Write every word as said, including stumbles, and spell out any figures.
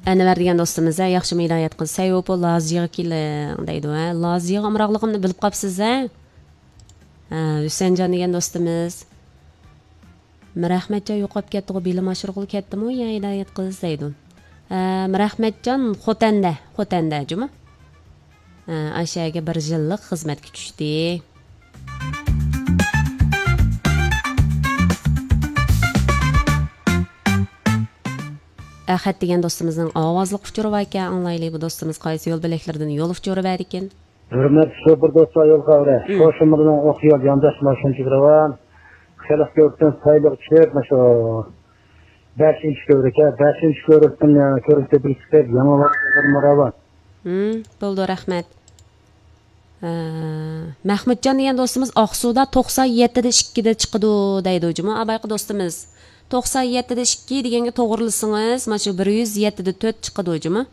ئەنۋەر دېگەن دوستىمىز، ھە، ياخشىمۇ ھىدايەت قىلدى. سەي ھوپۇ لازىيىغا كېلىڭ دەيدۇ، ھە. لازىيىغا ئامراقلىقىمنى بىلىپ قاپسىز، ھە. ھە، ھۈسەنجان دېگەن دوستىمىز. مىرئەخمەتجان يوقاپ كەتتىغۇ، بىلىم ئاشۇرغىلى كەتتىمۇ يا ھىدايەت قىلسا دەيدۇ. ھە، مىرئەخمەتجان خوتەندە، خوتەندە جۇمۇ. ھە، ئاشۇ يەرگە بىر يىللىق خىزمەتكە چۈشتى. ئەخەت دېگەن دوستىمىزنىڭ ئاۋازلىق ئۇچۇرى باركەن، ئاڭلايلى، بۇ دوستىمىز قايسى يول بۆلەكلىرىدىن يول ئۇچۇرى بەردىكىن. ھۆرمەتلىك شوپۇر دوستلار، يول خەۋىرى. مم. قوشۇمىدىن ئوق يول يانداش ماشىنا چىقىرىۋان. خەلق كۆرۈكتىن سايلىغا چۈشۈپ، مانا شۇ بەشىنچى كۆۋرۈككە، بەشىنچى كۆۋرۈكتىن، ئە، كۆۋرۈك تېپىلىپ چىقىپ، يېڭى ۋاقىتلىرىمۇ راۋان. مم، بولدى، رەھمەت. ئە، مەھمۇتجان دېگەن دوستىمىز ئاقسۇدا توقسان يەتتىدە ئىككىدە چىقىدۇ دەيدۇ جۇمۇ، ئابايقى دوستىمىز. توقسان يەتتىدە ئىككى دېگەنگە توغرىلىسىڭىز، مانا شۇ بىر يۈز يەتتىدە تۆت چىقىدۇ جۇمۇ.